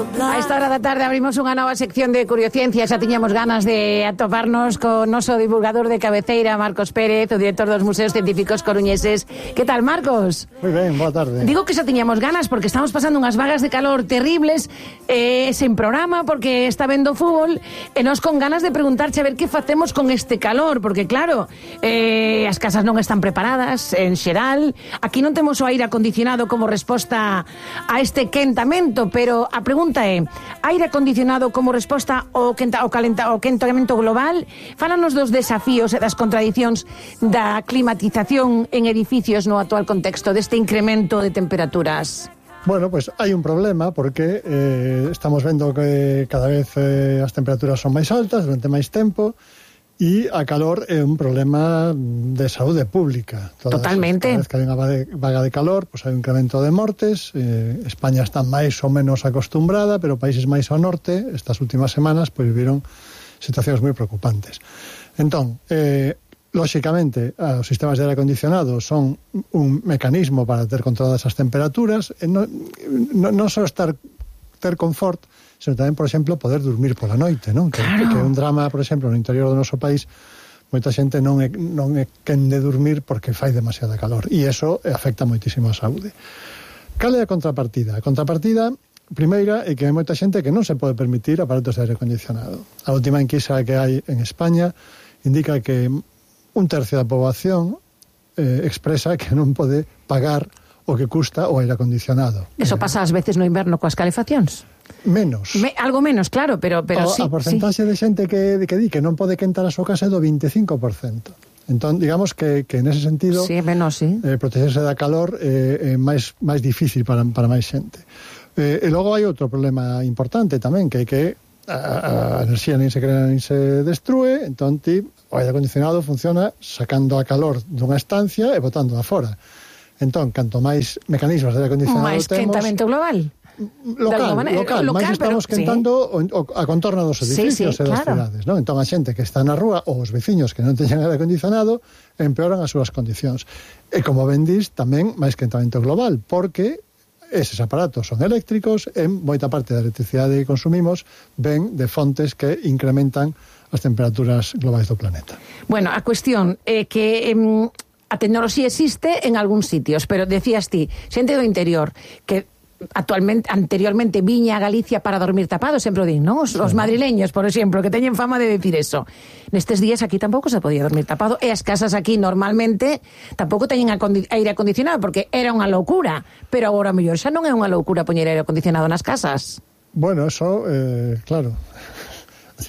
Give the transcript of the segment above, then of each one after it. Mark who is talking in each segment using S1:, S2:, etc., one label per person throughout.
S1: A esta hora da tarde abrimos unha nova sección de Curiociencia. Xa tiñamos ganas de atoparnos con noso divulgador de cabeceira, Marcos Pérez, o director dos Museos Científicos Coruñeses. Que tal, Marcos?
S2: Moi ben, boa tarde.
S1: Digo que xa tiñamos ganas porque estamos pasando unhas vagas de calor terribles, sen programa porque está vendo fútbol, e nós con ganas de preguntarche a ver que facemos con este calor, porque claro, as casas non están preparadas en xeral. Aquí non temos o aire acondicionado como resposta a este quentamento, pero a pregunta é: aire acondicionado como resposta ao quentamento global? Fálanos dos desafíos e das contradicións da climatización en edificios no actual contexto deste incremento de temperaturas.
S2: Bueno, pues hai un problema porque estamos vendo que cada vez as temperaturas son máis altas durante máis tempo, e a calor é un problema de saúde pública.
S1: Totalmente.
S2: Cada vez que hai unha vaga de calor, pues hai un incremento de mortes. España está máis ou menos acostumbrada, pero países máis ao norte, estas últimas semanas, pues viviron situacións moi preocupantes. Entón, lóxicamente, os sistemas de aire acondicionado son un mecanismo para ter controladas as temperaturas, non só ter confort, sino tamén, por exemplo, poder dormir pola noite, non?
S1: Claro.
S2: Que é un drama, por exemplo, no interior do noso país, moita xente non é quen de dormir porque fai demasiada calor, e iso afecta moitísimo a saúde. Cal é a contrapartida? A contrapartida primeira é que hai moita xente que non se pode permitir aparatos de aire acondicionado. A última enquisa que hai en España indica que un tercio da poboación expresa que non pode pagar o que custa o aire acondicionado.
S1: Eso pasa ás veces no inverno coas calefaccións.
S2: Menos.
S1: Algo menos, claro, pero sí.
S2: A porcentaxe de xente que di que non pode quentar a súa casa é do 25%. Entón, digamos que nese sentido,
S1: sí, menos, sí.
S2: Protegerse da calor é máis difícil para máis xente. E logo hai outro problema importante tamén, que é que a enerxía nin se crea nin se destrue. Entón, o aire acondicionado funciona sacando a calor dunha estancia e botando a fora. Entón, canto máis mecanismos de aire acondicionado
S1: máis
S2: temos...
S1: Máis quentamento global?
S2: Local, máis estamos quentando a contorno dos edificios e das cidades, non? Entón a xente que está na rúa ou os veciños que non teñan aire acondicionado empeoran as súas condicións. E como ben dis, tamén máis quentamento global, porque eses aparatos son eléctricos e moita parte da electricidade que consumimos ven de fontes que incrementan as temperaturas globais do planeta.
S1: Bueno, a cuestión é que a tecnoloxía existe en algúns sitios, pero decías ti, xente do interior que anteriormente viña a Galicia para dormir tapado, sempre o din, non? Os madrileños, por exemplo, que teñen fama de decir eso. Nestes días aquí tampouco se podía dormir tapado, e as casas aquí normalmente tampouco teñen aire acondicionado, porque era unha loucura, pero agora mellor xa non é unha loucura poñer aire acondicionado nas casas.
S2: Bueno, eso, claro...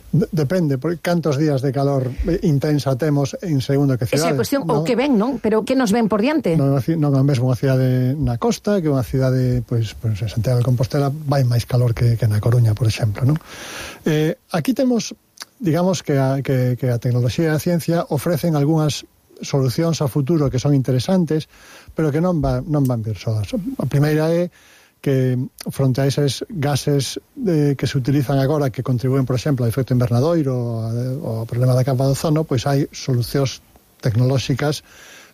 S2: Depende, porque cantos días de calor intensa temos en segundo que cidades.
S1: Esa é a cuestión, ou que ven, non? Pero que nos ven por diante?
S2: Non é mesmo unha cidade na costa, que unha cidade, pois en Santiago de Compostela vai máis calor que na Coruña, por exemplo, non? Aquí temos, digamos que a tecnoloxía e a ciencia ofrecen algunhas solucións ao futuro que son interesantes, pero que non van vir soas. A primeira é que fronte a eses gases que se utilizan agora, que contribúen, por exemplo, ao efecto invernadoiro ou ao problema da capa de ozono, pois hai solucións tecnolóxicas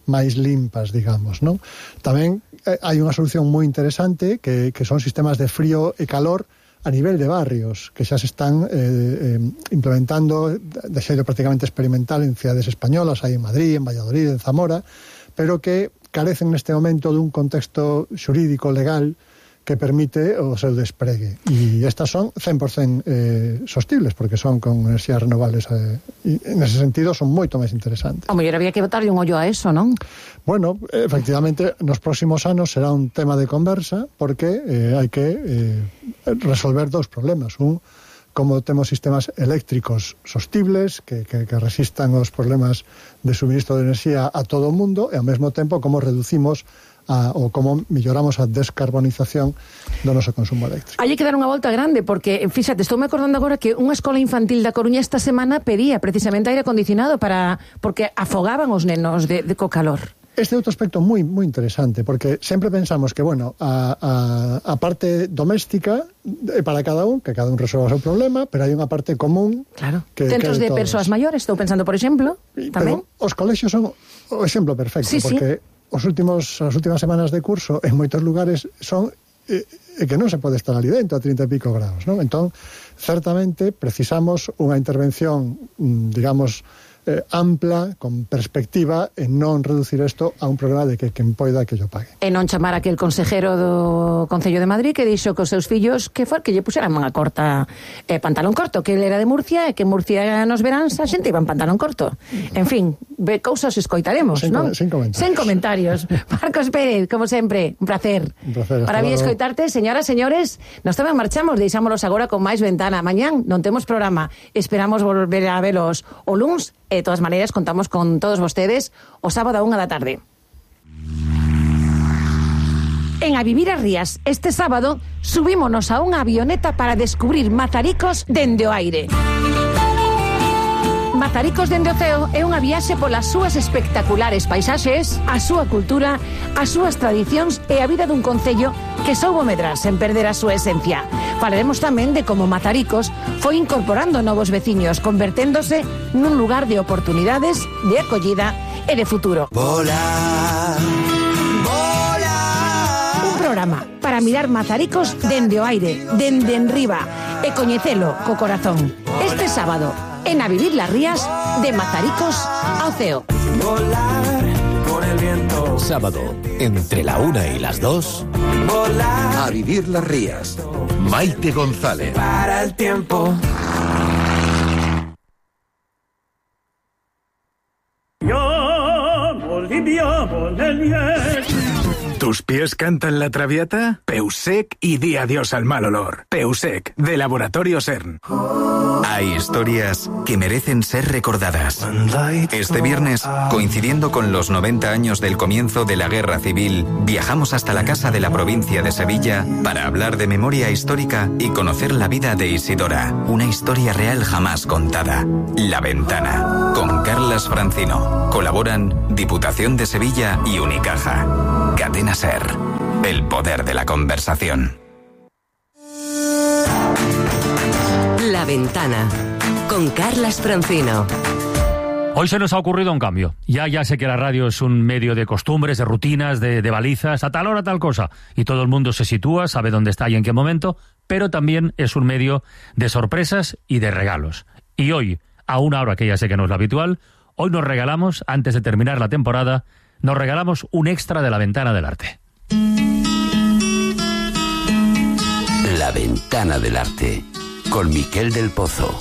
S2: máis limpas, digamos, non? Tamén hai unha solución moi interesante que son sistemas de frío e calor a nivel de barrios, que xa se están implementando de xeito prácticamente experimental en cidades españolas, hai en Madrid, en Valladolid, en Zamora, pero que carecen neste momento dun contexto xurídico legal que permite o seu despregue. E estas son 100% sostibles, porque son con enerxías renovables, e nese sentido son moito máis interesantes.
S1: O mellor había que botarlle un ollo a eso, non?
S2: Bueno, efectivamente, nos próximos anos será un tema de conversa, porque hai que resolver dous problemas. Un, como temos sistemas eléctricos sostibles que resistan os problemas de suministro de enerxía a todo o mundo, e ao mesmo tempo como reducimos ou como melloramos a descarbonización do noso consumo eléctrico.
S1: Hai que dar unha volta grande, porque, fíxate, estou me acordando agora que unha escola infantil da Coruña esta semana pedía precisamente aire acondicionado porque afogaban os nenos co calor.
S2: Este é outro aspecto moi interesante, porque sempre pensamos que, bueno, a parte doméstica é para cada un, que cada un resolva o seu problema, pero hai unha parte común...
S1: Claro, centros de persoas maiores, estou pensando, por exemplo, tamén.
S2: Pero os colexios son o exemplo perfecto, porque as últimas semanas de curso en moitos lugares son que non se pode estar ali dentro a 30 e pico graus, non? Entón, certamente precisamos unha intervención, digamos, ampla, con perspectiva, en non reducir isto a un programa de que quen poida que yo pague.
S1: E non chamar aquel consejero do Concello de Madrid que dixo cos seus fillos que lle puxeran manga corta e pantalón corto, que ele era de Murcia e que en Murcia nos veráns a xente iba en pantalón corto. En fin, cousas escoitaremos, non?
S2: Sen comentarios.
S1: Sen comentarios. Marcos Pérez, como sempre, un placer.
S2: Un placer.
S1: Para mí escoitarte, señoras, señores, nos tamén marchamos, deixámonos agora con máis ventana. Mañán non temos programa. Esperamos volver a velos o luns. De todas maneiras, contamos con todos vostedes o sábado a 1 da tarde. En A Vivir as Rías, este sábado, subímonos a unha avioneta para descubrir Mazaricos dende o aire. Mazaricos dende o ceo é unha viaxe polas súas espectaculares paisaxes, a súa cultura, as súas tradicións e a vida dun concello que soubo medrar sen perder a súa esencia. Falaremos tamén de como Mazaricos foi incorporando novos veciños, converténdose nun lugar de oportunidades, de acollida e de futuro. Volar, volar. Un programa para mirar Mazaricos dende o aire, dende enriba, e coñecelo co corazón. Este sábado, en A Vivir las Rías, de Mazaricos ao ceo. Volar con el viento.
S3: Sábado, entre la 1 y las 2.
S4: Volar. A Vivir las Rías. Maite González.
S5: Para el tiempo.
S6: ¿Tus pies cantan la traviata? Peusec y di adiós al mal olor. Peusec, de Laboratorio CERN.
S7: Hay historias que merecen ser recordadas. Este viernes, coincidiendo con los 90 años del comienzo de la Guerra Civil, viajamos hasta la Casa de la Provincia de Sevilla para hablar de memoria histórica y conocer la vida de Isidora, una historia real jamás contada. La Ventana, con Carlas Francino. Colaboran Diputación de Sevilla y Unicaja. Cadena SER, el poder de la conversación.
S8: La Ventana, con Carlas Francino.
S9: Hoy se nos ha ocurrido un cambio. Ya sé que la radio es un medio de costumbres, de rutinas, de balizas, a tal hora tal cosa. Y todo el mundo se sitúa, sabe dónde está y en qué momento, pero también es un medio de sorpresas y de regalos. Y hoy, a una hora que ya sé que no es lo habitual, hoy nos regalamos, antes de terminar la temporada, nos regalamos un extra de La Ventana del Arte.
S4: La Ventana del Arte, con Miquel del Pozo.